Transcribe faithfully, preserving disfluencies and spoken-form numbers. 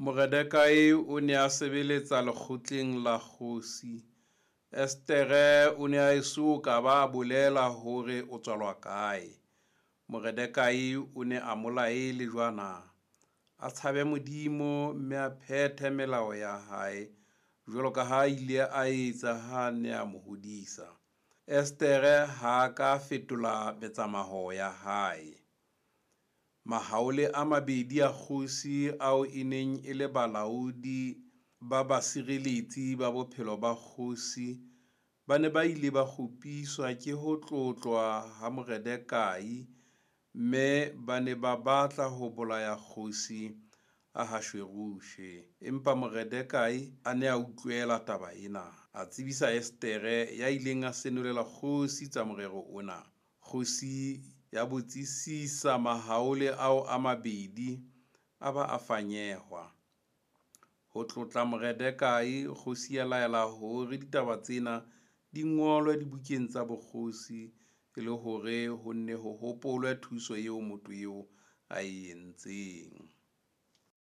Moredekai o ne a sebeletsa lekgotleng la kgosi. Esetere o ne a eso ka ba a bolela hore o tswalwa kae. Moredekai o ne a mo laele jwana, a tshabe Modimo, mme a phethe melao ya hae, jwalo ka ha a ile a etsa ha a ne a mo hodisa. Esetere ha a ka a fetola metsamao ya hae. Mahaole a mabedi a kgosi ao e neng e le balaodi ba basireletsi ba bophelo ba kgosi, ba ne ba ile ba kgopiswa ke ho tlotlwa ha Moredekai, mme ba ne ba batla ho bolaya kgosi Ahashuerushe. Empa Moredekai a ne a utlwela taba ena, a tsebisa Esetere ya ileng a senolela kgosi tsa morero ona. Kgosi ya botsisisa mahaole ao a mabedi, a ba a fanyehwa. Ho tlotla Moredekai, kgosi ya laela hore ditaba tsena di ngolwe dibukeng tsa bokgosi, e le hore ho nne ho hopolwe thuso eo motho eo a e entseng.